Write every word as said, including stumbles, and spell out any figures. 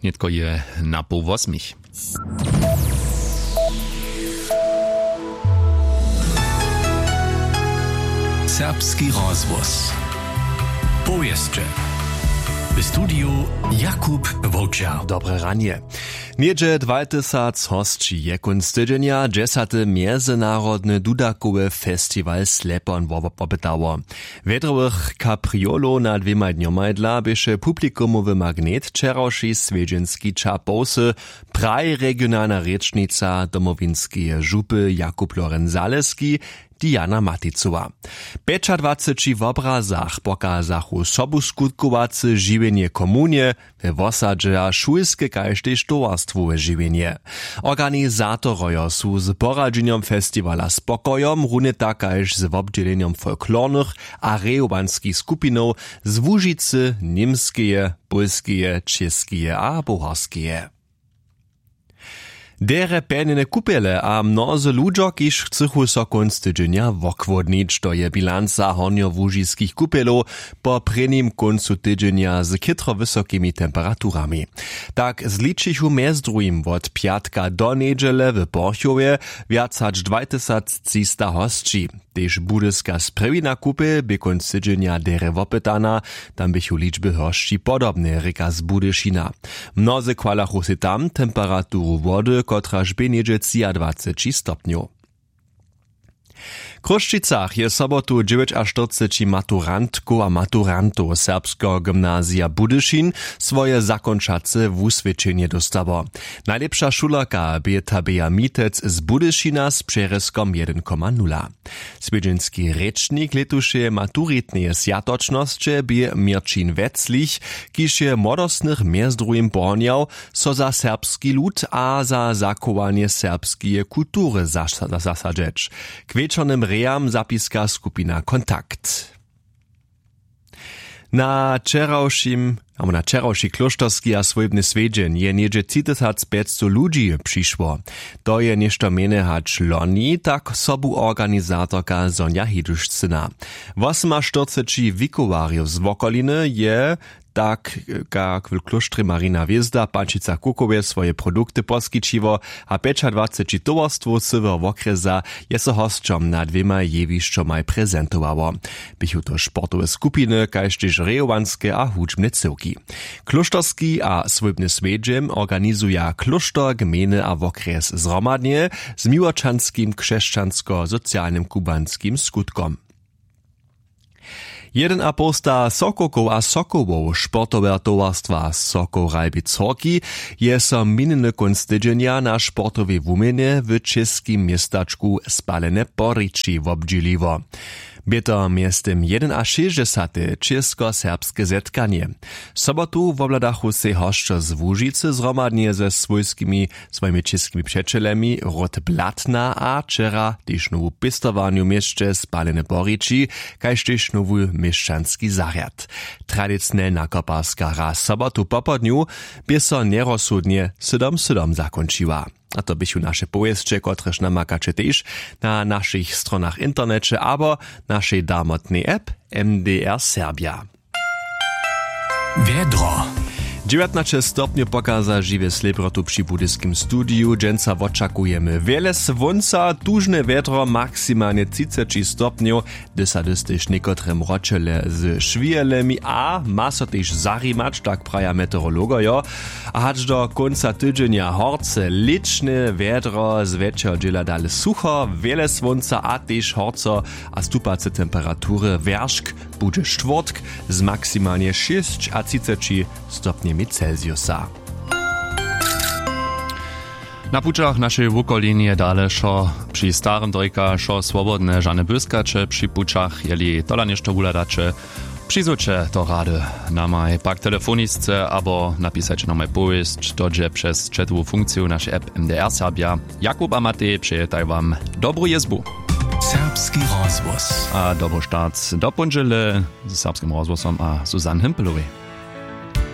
Nětko je na poł wosmich. Serbski rozhłos. Powěsće. W studiju Jakub Wowčer. Dobre ranje. Něhdźe dwaj tysac hosći je kónc tydźenja dźesaty mjezynarodny dudakowy festiwal Slepon wo-, wopytało. Wjedrowych kapriolow na dwěmaj dnjomaj dla běše publikumowy magnet wčerawši swjedźenski ča połsy, praji regionalna rěčnica Domowinskeje župy Jakub Lorenc Zaleski, Diana Maticowa. Pjećadwaceći wobrazach pokazachu sobuskutkowace žiwjenje komunje we wosadźe a šulske kaž tež towarstwowe žiwjenje. Organizatorojo su z poradźenjom festiwala Spokojom runje tak kaž z wobdźělenjom folklornych a rejowanskich skupinow z Łužicy, Němskeje, Pólskeje, Čěskeje a Buharskeje. Derje pjenjene kupjele a mnozy ludźo, kiž chcychu so kónc tydźenja wochłódnić, to je bilanca hornjołužiskich kupjelow po prěnim kóncu tydźenja z chětro wysokimi temperaturami. Tak zličichu mjez druhim wot pjatka do njedźele w Porchowje wjac hač dwaj tysac třista hosći. Tež budyska sprjewina kupjel bě kónc tydźenja derje wopytana, tam běchu ličby hosći podobne, rěka z Budyšina. Mnozy chwalachu sej tam temperaturu wody, kotraž bě něhdźe třiadwaceći stopnjow. W Chrósćicach je sobotu dźewjećaštyrceći maturantkow a maturantow Serbskeho gymnazija Budyšin swoje zakónčace wuswědčenje dóstało. Najlěpša šulerka bě Tabea Mitec z Budyšina z přerězkom jedyn koma nula. Swjedźenski rěčnik lětušeje maturitneje swjatočnosće bě Měrćin Weclich, kiž je młodostnych mjez druhim pohonjał, so za serbski lud a za zachowanje serbskeje kultury zas-, zasadźeć. K wječornym rejam zapiska skupina Kontakt. Na wčerawšim abo na wčerawši klóšterski a swójbny swjedźeń je něhdźe tři tysac pjećstow ludźi přišło. To je něšto mjenje hač loni, tak sobu organizatorka Sonja Hidušcyna. Wosymaštyrceći wikowarjow z wokoliny je, tak kak w klóštrje Marina Hwězda w Pančicach Kukowje, swoje produkty poskićiło a pjećadwaceći towarstwow cyłeho wokrjesa je so hosćom na dwěmaj jewišćomaj prezentowało. Běchu to sportowe skupiny kaž tež rejowanske a hudźbne cyłki. Klóšterski a swójbny swjedźeń organizuja klóšter, gmejny a wokrjes zhromadnje z miłočanskim křesćansko-socialnym kubanskim skutkom. Jedyn a połsta sokowkow a sokołow sportoweho towarstwa Sokoł Ralbic Horki je so minjeny kónc tydźenja na sportowej wuměnje w čěskim městačku Spalene Porići wobdźěliło. Bě to mjeztym jedynašěsćdźesate čěskoserbske zetkanje. Sobotu wobhladachu sej hosćo z Łužicy zhromadnje ze swójskimi, swojimi čěskimi přećelemi Ród Blatna a wčera tež nowu pěstowarnju w měsće Spalene Porići, kaž tež nowy měšćanski zarjad. Tradicionelna koparska hra sobotu popołdnju bě so njerozsudnje sydom sydom zakónčiła. A to běchu naše powěsće, kotrež namakaće tež na našich stronach w interneće abo našej darmotnej app M D R Serbja. Wjedro. Dźewjatnaće stopnjow pokaza žiwje slěpjotu při budyskim studiju. Dźensa wočakujemy wjele słónca, tužne wjedro, maksimalnje třiceći stopnjow. Hdy sa hdyž tež někotre mročele z šwijelemi a ma so tež zarimać, tak praja meteorologojo. A hač do kónca tydźenja horce lěćne wjedro, z wjetšeho dźěla dale sucho, wjele słónca a tež horco a stupace temperatury. Wjeršk budźe štwórtk z maksimalnje šěsćatřiceći stopnjemi Celsiusa. Na pućach w našej wukolinje dale wšo při starym drejka, wšo swobodne, žane błyskaće při pućach. Jeli tola něšto wuhladaće, přizwójće to rady namaj pak telefonisce abo napisaće namaj powěsć, to dźe přez chatowu funkciju našej app M D R Serbja. Jakub a Matej přejetaj wam dobru jězbu. Serbski rozhłos. A dobry start do póndźele ze Serbskim rozhłosom a Susanne Himpelowej.